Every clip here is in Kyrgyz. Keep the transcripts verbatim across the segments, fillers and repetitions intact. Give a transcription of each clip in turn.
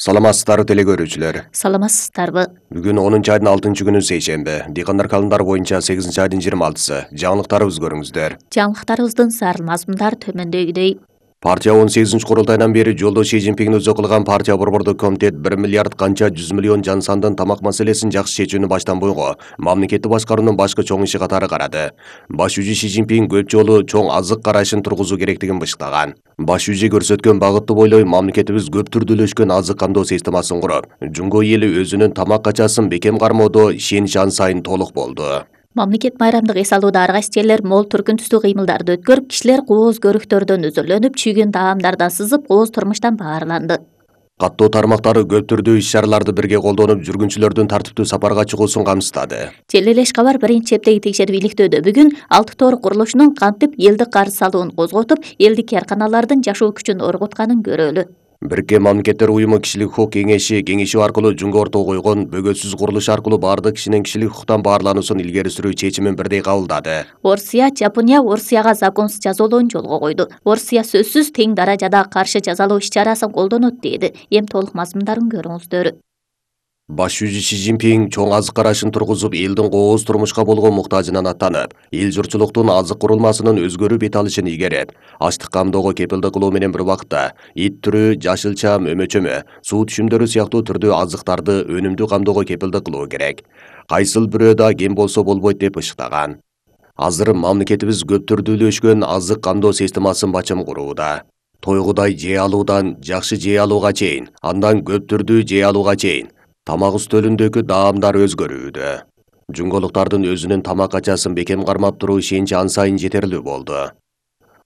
Саламатсыздарбы теле көрүүчүлөр. Саламатсыздарбы. Бүгүн онунчу айдын алтынчы күнү сейшемби. Дыйкандар календарь боюнча сегизинчи айдын жыйырма алтысы. Жаңылыктарыбыз көрүңүздөр. Жаңылыктарыбыздын сар мазмундары төмөндөгүдөй. Партия он сегизинчи курултайдан бери жолдо Си Цзиньпиң өзү кылган партия борбордук комитет бир миллиард канча жүз миллион жан сандын тамак маселесин жакшы чечүүнү баштан буйго мамлекетти башкаруунун башкы чоң иши катары карады. Баш жүзү Си Цзиньпиң көп жолу чоң азык карашын тургузуу керектигин бышыктаган. Баш жүзү көрсөткөн багытты бойлой мамлекетибиз көп түрдүүлөшкөн азык камдоо системасын куруп, жунго эли өзүнүн тамак качасын бекем кармоодо ишенич ан сайын толук болду. Мамлекет майрамдык эс алууда ар кайсы жерлер мол түркүн түстүү кыймылдарды өткөрүп, кишилер кооз көрүктөрдөн өзүрлөнүп, чүйгүн таамдардан сызып, кооз турмуштан баарланды. Каттоо тармактары көп түрдүү иш-чараларды бирге колдонуп, жүргүнчүлөрдүн тартиптүү сапарга чыгуусун камсыздады. Жел эле Ишкабар биринчи чептеги текшерип иликтөөдө бүгүн алты тоор курулушунун кантип элдик карыз салуун козготуп, элдик каарканалардын жашоо күчүн оргутканын көрөлү. Бириккен Мамлекеттер уюму кишилик укук кеңеши кеңешүү аркылуу жунга ортого койгон бөгөтсүз курулуш аркылуу баардык кишинин кишилик укуктан баарлануусун илгери сүрүү чечимин бирдей кабылдады. Орусия, Жапония Орусияга законсуз жазалоону жолго койду. Орусия сөзсүз тең даражада каршы жазалоо иш-чарасын колдонот деди. Эми толук мазмундарын көрүңүздөр. Баш жүзү Си Цзиньпиң чоң азык карашын тургузуп, элдин кооз турмушка болгон муктажынан аттанып, эл журтчулуктун азык курулмасынын өзгөрүү бет алышын ийгерет, ачлык камдоого кепилдик кылуу менен бир убакытта ит түрү, жашыл чам, өмөчөмө, суу түшүмдөрү сыяктуу түрдүү азыктарды өнүмдүү камдоого кепилдик кылуу керек. Кайсыл бирөө да кем болсо болбойт деп ышыктаган. Азыр мамлекетибиз көп түрдүүлөшкөн азык камдоо системасын бачым курууда. Тойгудай жей алуудан жакшы жей алууга чейин, андан көп түрдүү жей алууга чейин тамак үстөлүндөгү даамдар өзгөрүүдө. Жунголуктардын өзүнүн тамак качасын бекем кармап туруу ишеничи ан сайын жетерлүү болду.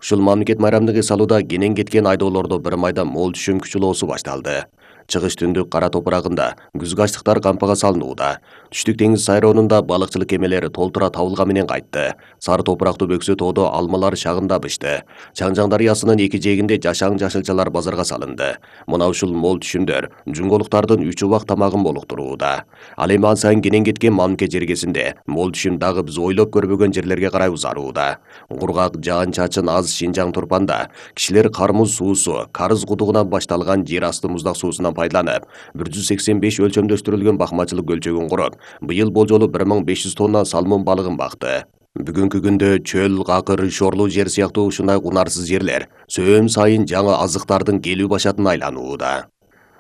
Ушул мамлекет майрамдык эс алууда кенен кеткен айдоолордо бир майда мол түшүм күчүлоосу башталды. Чыгыш түндүк кара топурагында күзгү ачлыктар кампага салынууда. Түштүк деңиз сайроонунда балыкчылык кемелери толтура табылган менен кайтты. Сары топурактуу бөксө тоодо алмалар шагында бышты. Чаңжаң дарыясынын эки жээгинде жашаң жашылчалар базарга салынды. Мына ушул мол түшүмдөр жунголуктардын үч убак тамагын болуктурууда. Ал эми ан сайын кенен кеткен мамлекет жергесинде мол түшүм дагы биз ойлоп көрбөгөн жерлерге карай узарууда. Кургак жаан-чачын аз Шинжаң Турпанда кишилер кармуз суусу, карыз кудугунан башталган жер асты муздак суусунан пайдаланып, бир жүз сексен беш өлчөмдөштүрүлгөн бакмачылык көлчөгүн куруп, быйыл болжолу бир миң беш жүз тонна салмон балыгын бакты. Бүгүнкү күндө чөл, какыр, шорлуу жер сыяктуу ушундай унарсыз жерлер сөөн сайын жаңы азыктардын келүү башатын айланууда.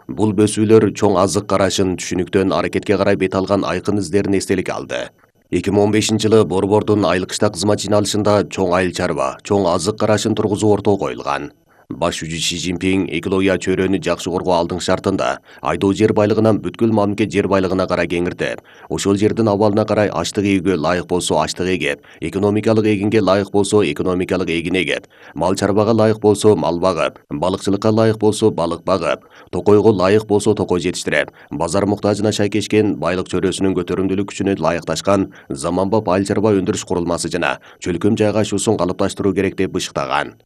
Бул бөсүүлөр чоң азык карашын түшүнүктөн аракетке карай бет алган айкын издерин эстеликке алды. эки миң он бешинчи жылы Борбордун айыл кышта кызмат жыйналышында чоң айыл чарба, чоң азык карашын тургузуу ортого коюлган. Баш жүзү Си Цзиньпиң экология чөйрөнү жакшы коргоо алдың шартында айдоо жер байлыгынан бүткүл мамлекет жер байлыгына карай кеңиртип, ошол жердин абалына карай ачлык эгүүгө ылайык болсо ачлык эгип, экономикалык эгинге ылайык болсо экономикалык эгин эгип, мал чарбага ылайык болсо мал багып, балыкчылыкка ылайык болсо балык багып, токойго ылайык болсо токой жетиштирип, базар муктажына шайкешкен байлык чөйрөсүнүн көтөрүмдүүлүк күчүнө ылайыкташкан заманбап айыл чарба өндүрүш курулмасы жана чөлкөм жайгашуусун калыпташтыруу керек деп бышыктаган.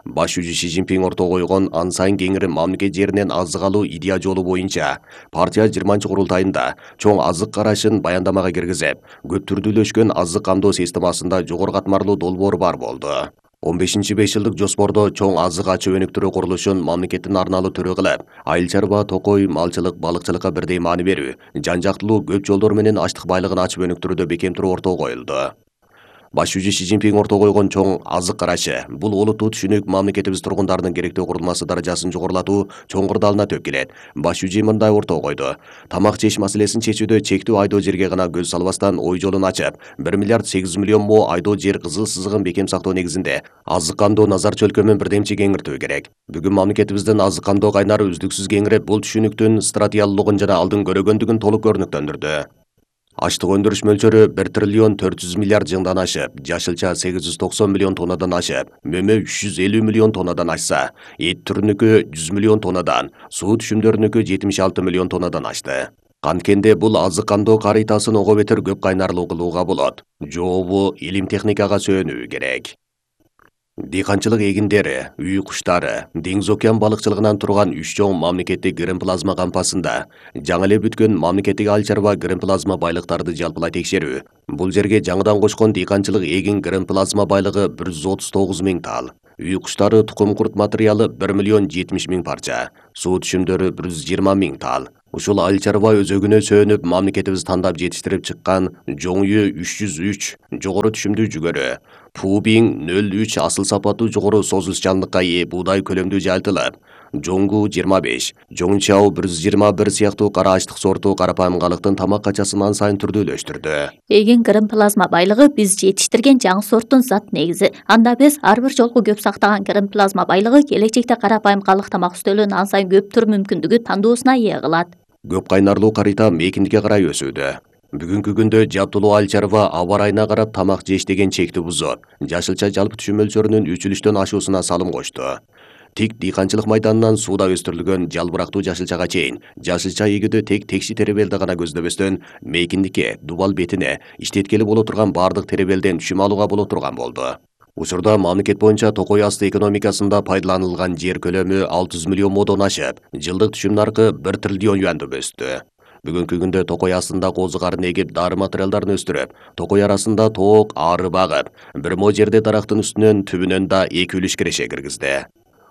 Баш жүзү Си Цзиньпиң ортого койгон ан сайын кеңири мамлекет жеринен азык алуу идея жолу боюнча партия жыйырманчы курултайында чоң азык карашын баяндамага киргизип, көп түрдүүлөшкөн азык камдоо системасында жогору катмарлуу долбоор бар болду. он бешинчи беш жылдык жоспордо чоң азык ачуу өнүктүрүү курулушун мамлекеттин арналуу түрү кылып, айыл чарба, токой, малчылык, балыкчылыкка бирдей маани берүү, жан жактылуу көп жолдор менен ачлык байлыгын ачып өнүктүрүүдө бекем туруу ортого коюлду. Баш жүзү Си Цзиньпиң ортого койгон чоң азык карашы бул олуттуу түшүнүк мамлекетибиз тургундарынын керектүү курулмасы даражасын жогорулатуу чоң кырдаалына төп келет. Баш жүзү мындай ортого койду. Тамак жеш маселесин чечүүдө чектүү айдоо жерге гана көз салбастан ой жолун ачып, бир миллиард сегиз жүз миллион мо айдоо жер кызыл сызыгын бекем сактоо негизинде азык камдоо назар чөлкөмүн бирдемче кеңиртүү керек. Бүгүн мамлекетибиздин азык камдоо кайнары үздүксүз кеңирип, бул түшүнүктүн стратегиялуулугун жана алдын көрөгөндүгүн толук көрүнүктөндүрдү. Ачлык өндүрүш мөлчөрү бир триллион төрт жүз миллиард жыңдан ашып, жашылча сегиз жүз токсон миллион тоннадан ашып, мөмө үч жүз элүү миллион тоннадан ашса, эт түрүнүкү жүз миллион тоннадан, суу түшүмдөрүнүкү жетимиш алты миллион тоннадан ашты. Канткенде бул азык камдоо карыйтасын ого бетер көп кайнарлуу кылууга болот. Жообу илим техникага сөөнүү керек. Дыйканчылык эгиндери, үй куштары, деңиз океан балыкчылыгынан турган үч чоң мамлекеттик грин плазма кампасында жаңы эле бүткөн мамлекеттик айыл чарба грин плазма байлыктарды жалпылай текшерүү. Бул жерге жаңыдан кошкон дыйканчылык эгин грин плазма байлыгы бир жүз отуз тогуз миң тал. Үй куштары тукум курт материалы бир миллион жетимиш миң парча, суу түшүмдөрү бир жүз жыйырма миң тал. Ушул айыл чарба өзөгүнө сөөнүп мамлекетибиз тандап жетиштирип чыккан жоңую үч жүз үч жогору түшүмдүү жүгөрү, Пубиң нөл үч асыл сапаттуу жогору созулчанлыкка ээ буудай көлөмдүү жайылтылып, Жоңгу жыйырма беш, Жоңчау бир жүз жыйырма бир сыяктуу кара ачтык сорту карапайым калыктын тамак качасын ан сайын түрдүүлөштүрдү. Эген грин плазма байлыгы биз жетиштирген жаңы сорттун зат негизи. Анда биз ар бир жолку көп сактаган грин плазма байлыгы келечекте карапайым калык тамак үстөлүн ан сайын көптүр мүмкүндүгү тандоосуна ээ кылат. Көп кайнарлуу карыйта мейкиндикке карай өсүүдө. Бүгүнкү күндө жаптылуу айыл чарба аба ырайына карап тамак жеш деген чекти бузуп, жашылча жалпы түшүм мөлчөрүнүн үчүлүштөн ашуусуна салым кошту. Тик дыйканчылык майданынан сууда өстүрүлгөн жалбырактуу жашылчага чейин жашылча эгүүдө тек текши теребелди гана көздөбөстөн мейкиндикке, дубал бетине иштеткели боло турган бардык теребелден түшүм алууга боло турган болду. Учурда мамлекет боюнча токой асты экономикасында пайдаланылган жер көлөмү алты жүз миллион модон ашып, жылдык түшүм наркы бир триллион юанды өстү. Бүгүнкү күндө токой астында козу карын эгип, дары материалдарын өстүрүп, токой арасында тоок, ары багып, бир мо жерде дарактын үстүнөн түбүнөн да эки үлүш киреше киргизди.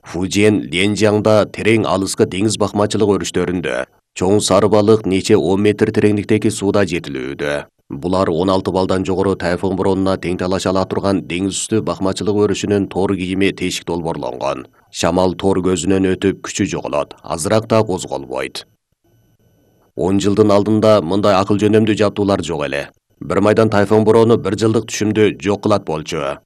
Фужиен, Ленжиаңда терең алыскы деңиз бакмачылык өрүштөрүндө чоң сары балык нече он метр тереңдиктеги сууда жетилүүдө. Булар он алты балдан жогору тайфун боронуна тең талаша ала турган деңиз үстү бакмачылык өрүшүнүн тор кийими тешик долбоорлонгон. Шамал тор көзүнөн өтүп күчү жоголот, азыраак да козголбойт. он жылдын алдында мындай акыл жөнөмдүү жаптуулар жок эле. Бир майдан тайфун борону бир жылдык түшүмдү жок кылат болчу.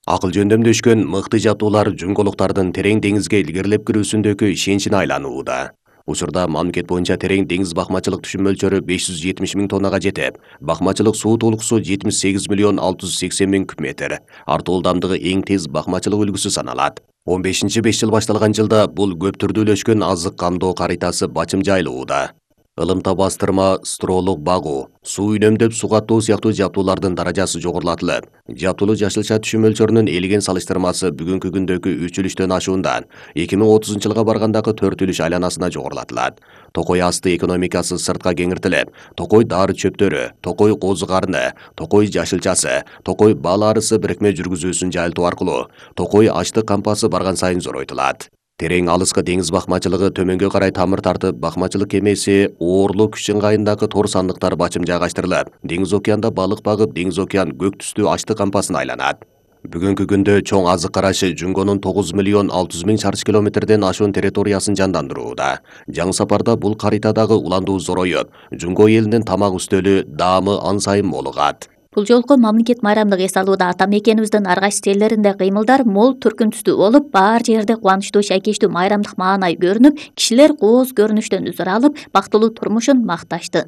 Акыл жөндөмдөшкөн мыкты жаптуулар жүнгөлүктардын терең деңизге илгерилеп кирүүсүндөгү ишеничине айланууда. Учурда мамлекет боюнча терең деңиз бакмачылык түшүм мөлчөрү беш жүз жетимиш миң тоннага жетип, бакмачылык суу толугусу жетимиш сегиз миллион алты жүз сексен миң куб метр. Артуу ылдамдыгы эң тез бакмачылык үлгүсү саналат. он бешинчи беш жыл башталган жылда бул көп түрдүүлөшкөн азык камдоо карытасы бачым жайылууда. Ылымта бастырма, стролук багуу, суу үнөмдөп суу каттоо сыяктуу жаптуулардын даражасы жогорулатылып, жаптылуу жашылча түшүм мөлчөрүнүн элеген салыштырмасы бүгүнкү күндөгү үч үлүштөн ашуундан эки миң отузунчу жылга баргандагы төрт үлүш айланасына жогорулатылат. Токой асты экономикасы сыртка кеңиртилип, токой дары чөптөрү, токой козу карыны, токой жашылчасы, токой бал арысы бирикме жүргүзүүсүн жайылтуу аркылуу токой ачтык кампасы барган сайын зоройтулат. Терең алыскы деңиз бакмачылыгы төмөнгө карай тамыр тартып, бакмачылык кемеси Оорлу күч ыңгайындагы тор сандыктар бачым жайгаштырылып, деңиз океанда балык багып, деңиз океан көк түстүү ачтык кампасын айланат. Бүгүнкү күндө чоң азык карашы Жүнгөнүн тогуз миллион алты жүз миң чарчы километрден ашуун территориясын жандандырууда. Жаңы сапарда бул карытадагы уландуу зороюп, Жүнгө элинин тамак үстөлү даамы ан сайын молугат. Бул жолку мамлекет майрамдык эс алууда ата мекенибиздин ар кайсы жерлеринде кыймылдар мол түркүн түстүү болуп, баар жерде кубанычтуу шайкештүү майрамдык маанай көрүнүп, кишилер кооз көрүнүштөн үзүр алып, бактылуу турмушун макташты.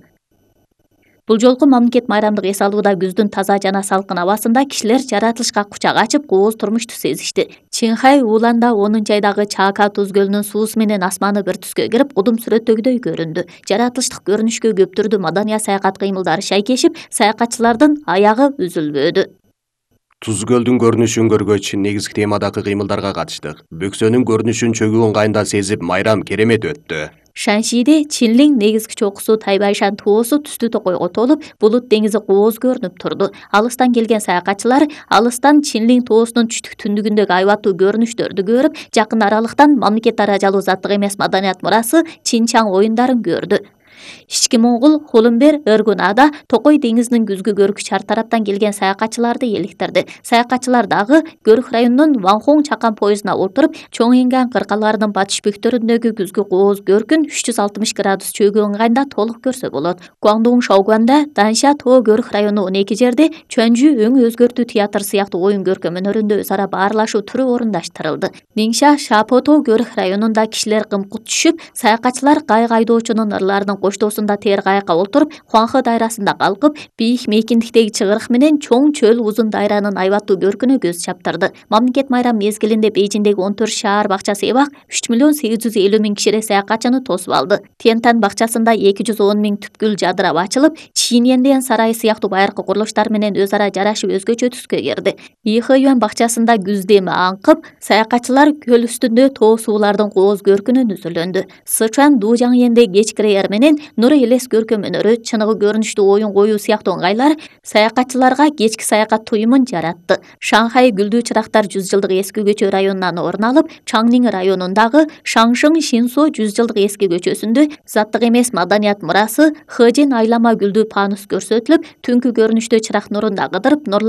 Бул жолку мамлекет майрамдык эс алууда күздүн таза жана салкын абасында кишилер жаратылышка кучак ачып, кооз турмушту сезишти. Чинхай Уланда онунчу айдагы Чака туз көлүнүн суусу менен асманы бир түскө кирип, кудум сүрөттөгүдөй көрүндү. Жаратылыштык көрүнүшкө көп түрдүү маданий саякат кыймылдары шайкешип, саякатчылардын аягы үзүлбөдү. Туз көлдүн көрүнүшүн көргөч, негизги темадагы кыймылдарга катыштык. Бөксөнүн көрүнүшүн чөгүү ыңгайында сезип, майрам керемет өттү. Шаншиде Чинлиң негизги чокусу Тайбайшан тоосу түстүү токойго толуп, булут деңизи кооз көрүнүп турду. Алыстан келген саякатчылар алыстан Чинлиң тоосунун түштүк түндүгүндөгү айбаттуу көрүнүштөрдү көрүп, жакын аралыктан мамлекет даражалуу заттык эмес маданият мурасы Чинчаң оюндарын көрдү. Ички Моңгул Холумбер Ыргунада Токой деңизинин күзгү көркү чар тараптан келген саякатчыларды эликтирди. Саякатчылар дагы Көрүк районунун Ванхоң чакан поездуна отуруп, Чоң Инган кыркаларынын батыш бөктөрүндөгү күзгү кооз көркүн үч жүз алтымыш градус чөгүү ыңгайында толук көрсө болот. Гуандун Шаогуанда Данша Тоо Көрүк району он эки жерде Чөнжү өң өзгөртүү театр сыяктуу оюн көркөм өнөрүндө өз ара баарлашуу түрү орундаштырылды. Ниңша Шапото Көрүк районунда кишилер кымкут түшүп, саякатчылар кайык айдоочунун ырларынын коштоосунда тээр кайыкка отуруп, Хуанхэ дайрасында калкып, бийик мейкиндиктеги чыгырык менен чоң чөл узун дайранын айбаттуу көркүнө көз чаптырды. Мамлекет майрам мезгилинде Бейжиңдеги он төрт шаар бакча себак үч миллион сегиз жүз элүү миң кишире саякатчыны тосуп алды. Тиентан бакчасында эки жүз он миң түп гүл жадырап ачылып, Чиньенден сарайы сыяктуу байыркы курулуштар менен өз ара жарашып өзгөчө түскө кирди. Ихэюан бакчасында күз деми аңкып, саякатчылар көл үстүндө тоо суулардын кооз көркүнөн үзүлөндү. Сычуан Дужаңенде кеч кирээр менен менен нур элес көркөм өнөрү, чыныгы көрүнүштүү оюн коюу сыяктуу ыңгайлар саякатчыларга кечки саякат туюмун жаратты. Шанхай гүлдүү чырактар жүз жылдык эски көчө районунан орун алып, Чаңнин районундагы Шаңшың Шинсо жүз жылдык эски көчөсүндө заттык эмес маданият мурасы Хэжин айлама гүлдүү панус көрсөтүлүп, түнкү көрүнүштө чырак нурунда кыдырып, нурлар